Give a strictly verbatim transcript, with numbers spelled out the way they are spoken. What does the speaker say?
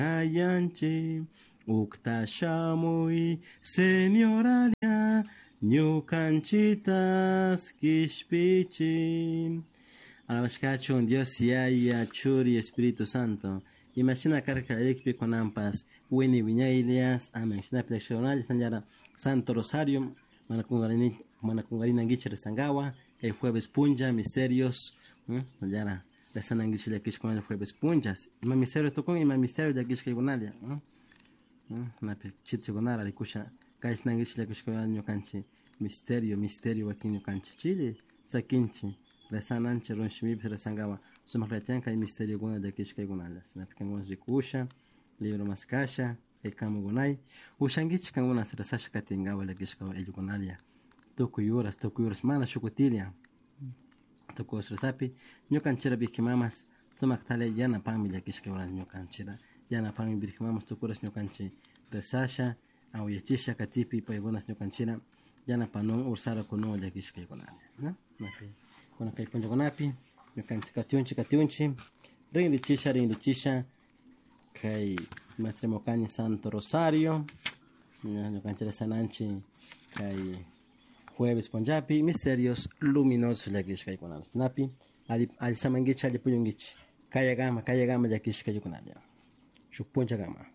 Ayanchi ukta shamuy Señoralia ñukanchitas kishpichi. Alabashkachun Dios Yaya Churi Espíritu Santo. Imashina karka ikpi kunanpas wini wiñaylias. Amén. Shinapi leccionalla Santo Rosario mana kungarini mana kungarinankichik rezangawa kay jueves punlla misterios yara rezanankichik llakishkunalla jueves punllas ima misterio tukun ima misterio llakishkaykunalla napi chitchikunara rikusha kashnankichik llakishkunalla ñukanchik misterio misterio wakin ñukanchik chili sakinchik rezananchik runshimipi rezangawa sumaklla kay misteriokuna llakishkaykunalla shinapi kankuna rikusha libro maskasha kay kamukunay ushankichik kankuna rezasha katinkawa llakishka ayllukunalla tukuy horas tukuy horas mana shukutilla tukuy horas rezapi ñukanchira Virgen Mamas sumaktalla yanapanmi llakishka ñukanchira yanapanmi Virgen Mamas tukuy horas ñukanchik rezasha awayachisha katipi paykunas ñukanchira yanapanun ursara kunun llakishkaykunalla ¿no? Napi kuna kay punllakunapi ñukanchik katiunchik katiunchik rinrichisha rinrichisha kay masrimukani Santo Rosario ñukanchik rezananchik kay jueves punllapi misterios luminosos llakishkaykunalla napi alli alli samankichik alli puñunkichik kayakama kayakama llakishkaykunalla shuk punllakama.